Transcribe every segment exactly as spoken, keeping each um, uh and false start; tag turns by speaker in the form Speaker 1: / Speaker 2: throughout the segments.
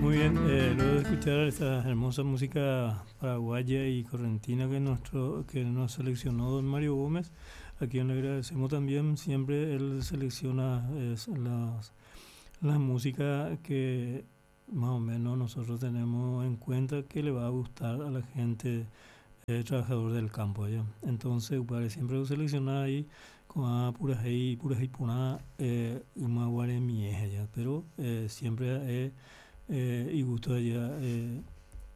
Speaker 1: Muy bien, eh, luego de escuchar esta hermosa música paraguaya y correntina que, nuestro, que nos seleccionó don Mario Gómez, a quien le agradecemos también, siempre él selecciona es, las, la música que más o menos nosotros tenemos en cuenta que le va a gustar a la gente eh, trabajador del campo allá. Entonces, upévare siempre lo selecciona ahí con purahéi, purahéi porã, eh, ymaguaremie allá, pero eh, siempre eh, eh, y gusto allá eh,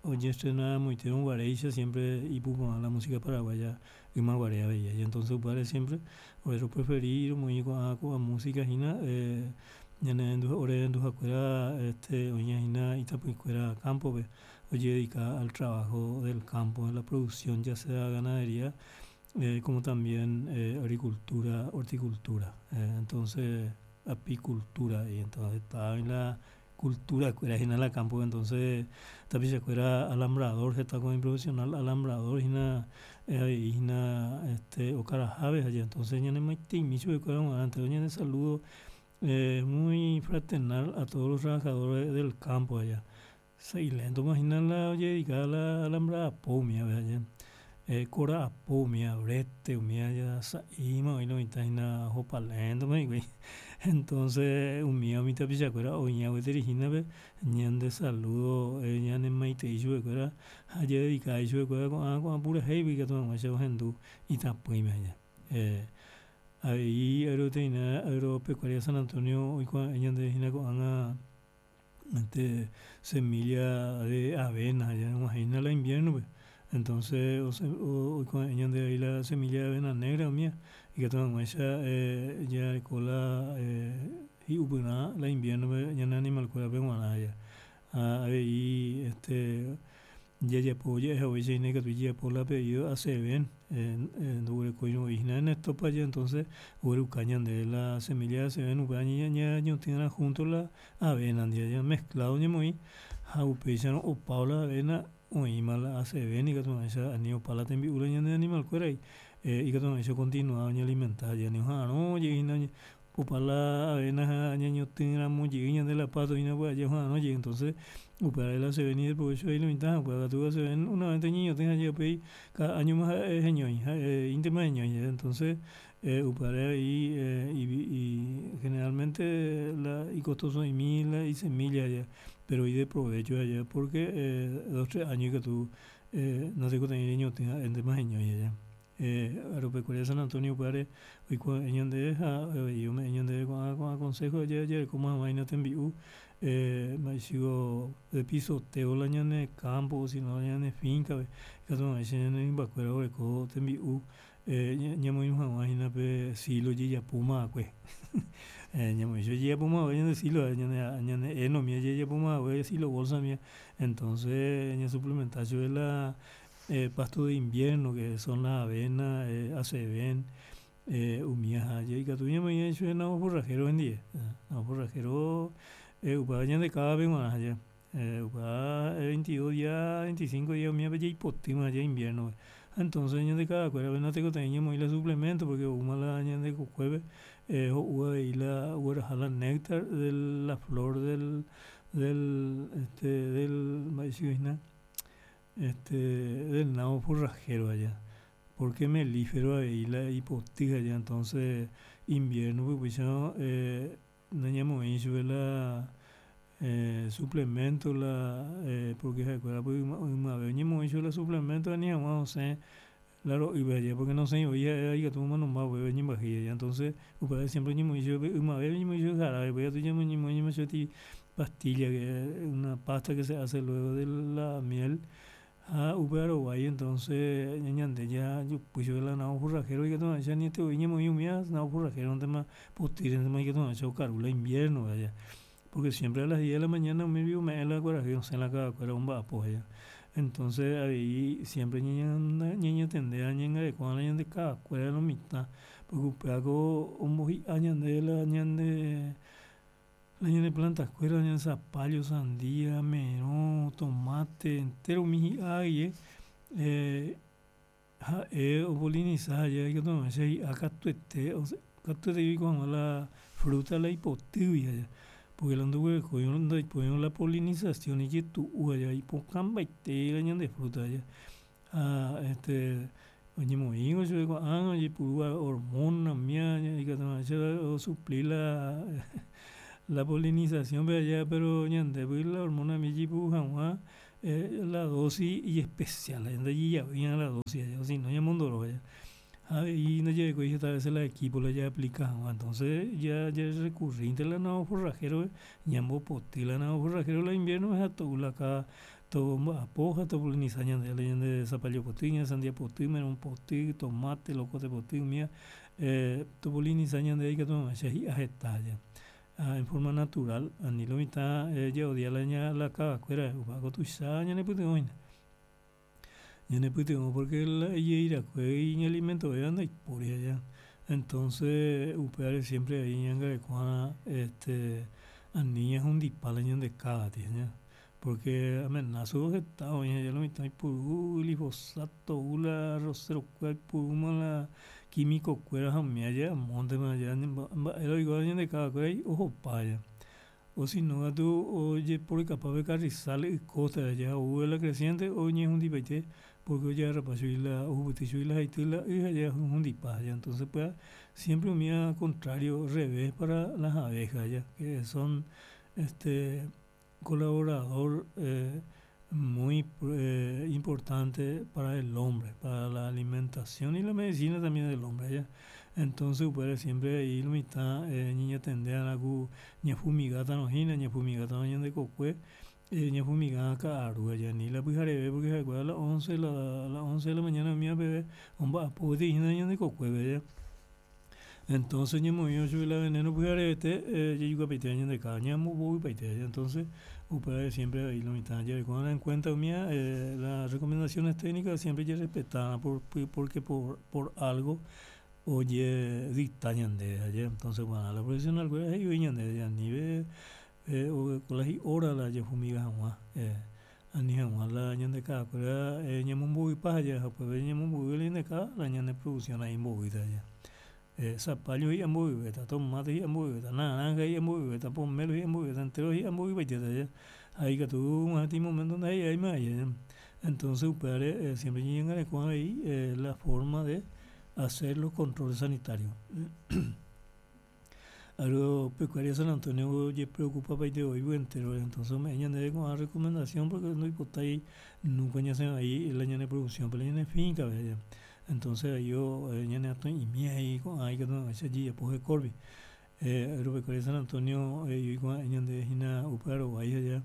Speaker 1: ojeestrena moiterõguaréicha siempre ipuporã la música paraguaya ymaguare avei allá. Entonces upévare siempre ore preferí romoĩ ko'ã ko'ã música hína eh, ñane ore renduhakuéra este, oĩhína itapỹikuéra campo-pe ojededica al trabajo del campo, en la producción ya sea ganadería eh, como también eh, agricultura, horticultura, eh, entonces apicultura y entonces está en la cultura kuéra hína la campo entonces tapichakuéra alambrador heta con profesional alambrador hína eh, hína este okaraháve allá entonces ñanemaiteimi chupekuéra g̃uarã ñane saludo eh, muy fraternal a todos los trabajadores del campo allá. Sa'ilentoma hína la ojededicada la alambrada apo umíva allá eh, kora apo umíva brete umíva ya sa'íma oĩ lo mitã hína ohopaléntoma hikuái entonces umíva umi tapichakuéra oĩva gueteri hínape ñande saludo eh, ñanemaitei chupekuéra ha jadedica ichupekuéra ko'ã ko'ã purahéi ikatu hag̃uáicha ohendu itapỹime allá. Eh, avei agroveterinaria agropecuaria San Antonio oikuave'ẽ ñande hína ko'ág̃a este semilla de avena og̃uahẽhína la invierno-pe entonces oikuave'ẽ ñande avei la semilla de avena negra umíva ikatu hag̃uáicha eh, jareko la eh, hi'upyrã la invierno-pe ñane animal-kuérape g̃uarã allá. Ha avei este jajapo ja'ehaguéicha hína ikatu jajapo la pedido A C V ndoguerekóirõ hína en estopa entonces ogueruka ñandéve la semilla de A C V upéva ñañotỹ'arã junto la avena ndive mezclado ñamoĩ ha upéicharõ opávo la avena oĩma la A C V ikatu hag̃uáicha ani opa la tembi'u la ñane animal-kuéragui eh, ikatu hag̃uáicha continuado oñealimenta ani oha'ãrõ jey opa la avena ha ñañotỹramo jey ñande la pasto hína oha'ãrõ jey entonces upévare la A C V ideprovecho lo mitã upéva katu A C V una vez ñañotỹ ha upéi cada año ma ha'e heñói ha'eíntema heñói entonces eh, upévare avei eh, y, y generalmente la icostoso'imi la isemilla allá pero ideprovecho allá porque eh, dos tres años ikatu eh, natekotevẽi reñotỹ ha'éntema heñói allá. Eh, Agropecuaria San Antonio upévare oikuave'ẽ ñandéve ha avei ome'ẽ ñandéve ko'ã ko'ã consejo jarekóma hag̃ua tembi'u eh, mba'eichiko de pisoteo la ñane campo sino ñane finca-pe ikatu hag̃uáicha ñane rymbakuéra oreko tembi'u eh, ñamoirũ hag̃ua hína pe silo jejapomava'ekue eh, ñamoĩ jejapomava'ekue ñande silo ñane ñane heno umíva jejapomava'ekue silo bolsa umíva entonces ñasuplementa chupe la eh, pasto de invierno que son la avena, eh, A C V eh, umíva ha ikatu ñamoĩ chupe nabo forrajero hendive nabo forrajero eh, upéva ñande kávape g̃uarã allá eh, upéva veintidós días veinticinco días umívape jaipotýma allá invierno entonces ñande kavakuérape natekotevẽi ñamoĩ la suplemento porque oúma la ñande kokuépe eh, ho'u avei la ogueraha la néctar de la flor del del este del mba'eichiko este del nabo forrajero allá porque melífero avei la ipoty allá entonces invierno-pe upéicharõ eh, nañamoĩ chupe la eh, suplemento la eh, porque ha'ekuéra ymave oñemoĩ chupe la suplemento ani hag̃ua osẽ la ro'ýpe allá porque nosẽivoi ha'e ikatu omanomba upépe ñembyahýi allá entonces upévare siempre oñemoĩ chupe ymave oñemoĩ chupe jarabe upéi katu ñamoĩma chupe pastilla que una pasta que se hace luego de la miel ha upéva rovái entonces ñande jajupy chupe la nabo forrajero ikatu hag̃uáicha anietevoi ñamoĩ umíva nabo forrajero-ntema potýrentema ikatu hag̃uáicha okaru la invierno allá porque siempre a las diez de la mañana umi ome'ẽ la kuarahy osẽ la kavakuéra omba'apo allá entonces avei siempre ñañatende ha ñañangareko'arã ñande kavakuéra lo mitã porque upévako ombohi'a ñande la ñande la ñane planta-kuéra ñane zapallo, sandia, merõ, tomate, entero umi hi'a guive eh, ha'e opolinisa allá ikatu hag̃uáicha hi'a katuete katuete oiko hag̃ua la fruta la ipotýgui allá. Porque la ndoguerekói la polinización ijetu'u allá ipokãmbaite la ñande fruta allá ha este oñemoĩngo chupe ko'ág̃a ojepurúva hormona umía ikatuhag̃uáicha osupli la la polinización-pe aja pero ñandéve la hormona jaiporu hag̃ua la dosis ijespecial ndajajavýi la dosis o si no ñamondoro ha avei ndajarekói heta veces la equipo la ja aplica hag̃ua entonces ja jarecurrinte la nava forrajero ñambopoty la nava forrajero la invierno ha to'u la káa tomba'apo ha topolinisa ñandéve la ñande zapallo poty, ñane sandia poty, merõ poty, tomate, locote poty umía topolinisa ñandéve ikatu hag̃uáicha hi'a heta ha en forma natural ani lo mitã jaodia la kavakuéra upévako tuicha ñanepytyvõ hína. Ñanepytyvõ porque la ijeirakue iñalimentovéva ndaipóri aja entonces upévare siempre avei ñañangareko'arã este ani ñahundipa la ñande káa porque amenazo heta oĩ lo mitã oipuru glifosato ou la arrocero-kuéra oipurúma la quimico-kuéra ha umía amóntema mba'e oikóva ñande kavakuéragui ohopa o si no katu ojeporekapa pe carrizal icostare ha ou la creciente oñehundipaite porque ojagarrapa chugui la ohupyty chugui la haity la y ha ohundipa entonces upéva siempre umía contrario revés para las abejas ya que son este colaborador muy importante para el hombre para la alimentación y la medicina también del hombre ya entonces upévare siempre ahí lo mitã ñañatende'arã ku ñafumigátarõ hína ñafumigátarõ ñande kokue ñafumiga ka'aru ani la pyhareve porque ha'ekuéra a las once la las once de la mañana umía peve omba'apo gueteri hína ñande kokuépe entonces ñamoĩvo chupe la veneno pyharevete jajukapaite ñande káa ñambopoguipaite entonces upévare siempre avei lo mitã jareko'arã en cuenta umía las recomendaciones técnicas siempre jarespeta'arã porque por por algo ojedicta ñandéve aje entonces la profesional-kuéra he'i voi ñandéve anive la hi'hora la jafumiga hag̃ua ani hag̃ua la ñande ka'akuéra ñamombovypa ha upépe ñamombovyve la ñande káa la ñane producción ai mbovýta zapallo hi'a mbovyvéta, tomate hi'a mbovyvéta, naranja hi'a mbovyvéta, pomelo hi'a mbovyvéta, entero hi'a mbovypaitéta ha ikatu og̃uahẽ peteĩ momento ndahi'áima entonces upévare siempre ñañangareko avei la forma de hacer los controles sanitarios. Agropecuaria San Antonio ojepreocupapaite voi entero entonces ome'ẽ ñandéve ko'ã recomendación porque ndoipotái nunca ñasẽ vai la ñane producción la ñane finca-pe entonces ahí ñaneatõi'imi avei ko'ã ikatu hag̃uáicha jajapo hekópe Agropecuaria San Antonio he'i ko'ã ñandéve hína upe arovái aja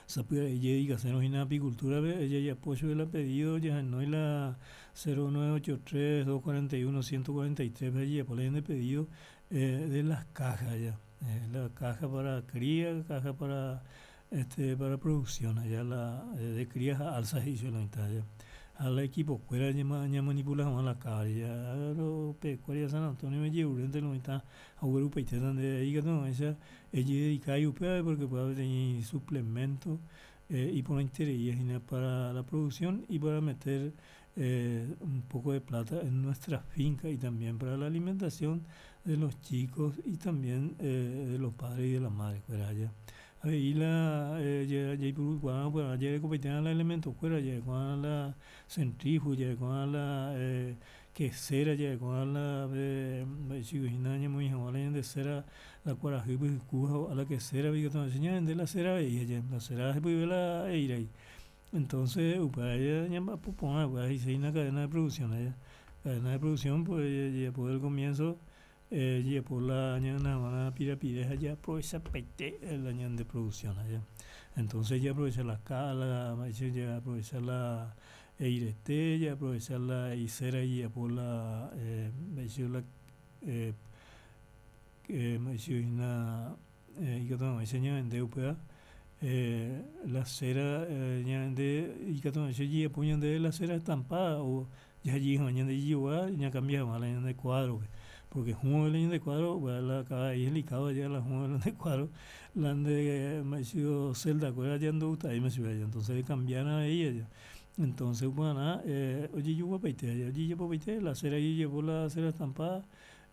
Speaker 1: sapy'a jedicasérõ hína apicultura-pe jajapo chupe la pedido jahenói la cero nueve ocho tres dos cuarenta y uno ciento cuarenta y tres-pe jajapo la ñande pedido de las cajas ya la caja para cría, caja para este para producción allá la de cría ha alza he'i chupe lo mitã ha la equipo-kuéra ñamanipula hag̃ua la káa Agropecuaria San Antonio ojerurénte lo mitã ha oguerupaitéta ndéve ikatu hag̃uáicha ejededica upévape porque upéva peteĩ suplemento iporãiterei hína para la producción y para meter un poco de plata en nuestra finca y también para la alimentación de los chicos y también de los padres y de las madres kuéra aja avei la jaipurukuaa upevarã jarekopaite la elemento-kuéra jareko'arã la centrífugo jareko'arã la quesera jareko'arã la mba'eichagua hína ñamoĩ hag̃ua la ñande cera la kuarahýpe hyku ha ho'a la quesera-pe ikatu hag̃uáicha ñavende la cera avei la cera hepyve la eíragui entonces upéva ñamba'apo porã upéva he'isehína cadena de producción cadena de producción pues jajapo el comienzo jajapo la ñagana hag̃ua la pirapire ha jaaprovechapaite la ñande producción entonces jaaprovecha la káa la mba'éicha jaaprovecha la eirete jaaprovecha la icera ijapo la mba'éicha la mba'eichagua hína ikatu hag̃uáicha ñavende upéva la cera ñavende ikatu hag̃uáicha ojejapo ñandéve la cera estampada o jahajey hag̃ua ñande jajogua ñacambia hag̃ua la ñande cuadro-pe porque hũva la ñande cuadro upéva la ka'a'i delicado la hũva la nde cuadro la nde mba'éichiko celda-kuéra ja ndogustaivéima chupe entonces ecambiarã avei entonces upearã ojejoguapaite ojejapopaite la cera ojejapo la cera estampada.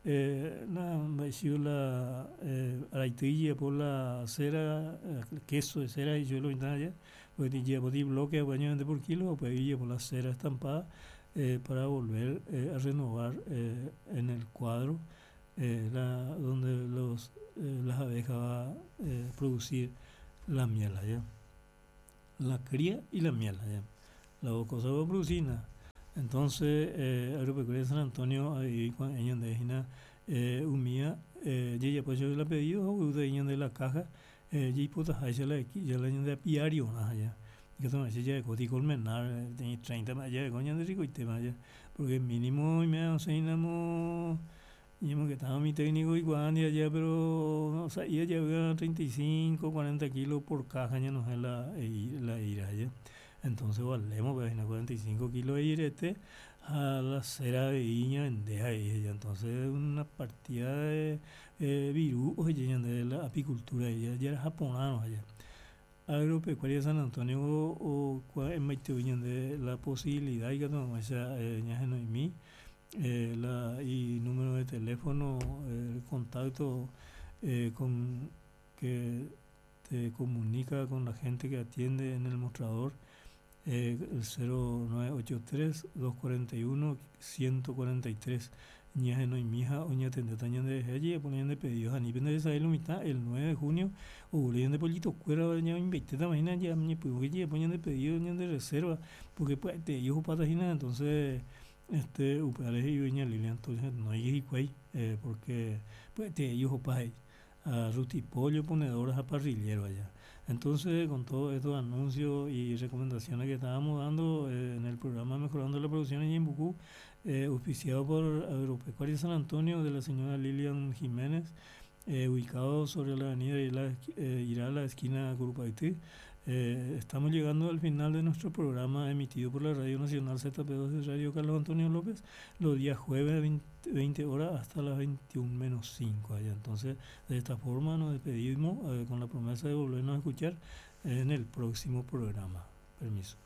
Speaker 1: Eh, la la eh, por la cera, el queso de cera y yo lo allá, pues llevo diez bloques de por kilo, pues llevo la cera estampada eh, para volver eh, a renovar eh, en el cuadro eh, la, donde los, eh, las abejas va a eh, producir la miel allá. La cría y la miel allá. Las dos cosas va a producir. Entonces, eh, Agropecuaria de San Antonio, ahí con ella de eh, umía, eh, ya pues yo la pedí, o de ella de la caja, eh, ya puta, ahí se la ya la de apiario, allá. Que toma, ya de coti colmenar, tiene treinta más allá, coño de rico y tema allá, porque mínimo y me enseñamos, y que estaba mi técnico igual y allá, pero o sea, ella lleva treinta y cinco, cuarenta kilos por caja, ya no es la, la ira allá. Entonces valemos, pues, cuarenta y cinco kilos de irete a la cera de iña vendeja ella. Entonces una partida de eh, virú, oye, de la apicultura, ella ya era japonano allá. Agropecuaria de San Antonio o en de la posibilidad y que no esa eh, eh, la y número de teléfono, el contacto eh, con que te comunica con la gente que atiende en el mostrador. Eh, el cero nueve ocho tres, dos cuarenta y uno, ciento cuarenta y tres. Ñaje no mija, oña tendeta ñande de allí, ponían de pedidos a nivel de esa mitad el nueve de junio, o de pollito cuera, ña inviteta, imagina ya, ñe pues que ponían de pedido, ñan de reserva, porque pues te ellos patajina, entonces este upeales y doña Lilian, entonces no hay que eh, porque pues te ellos pa a rutipollo, ponedoras a parrillero allá. Entonces, con todos estos anuncios y recomendaciones que estábamos dando eh, en el programa Mejorando la Producción en Ñeembucú, eh, auspiciado por Agropecuaria San Antonio de la señora Lilian Jiménez, eh, ubicado sobre la avenida Irala, eh, Irala, esquina Curupaití. Eh, estamos llegando al final de nuestro programa emitido por la Radio Nacional Z P dos de Radio Carlos Antonio López, los días jueves veinte horas hasta las veintiuno menos cinco allá. Entonces, de esta forma nos despedimos, eh, con la promesa de volvernos a escuchar en el próximo programa. Permiso.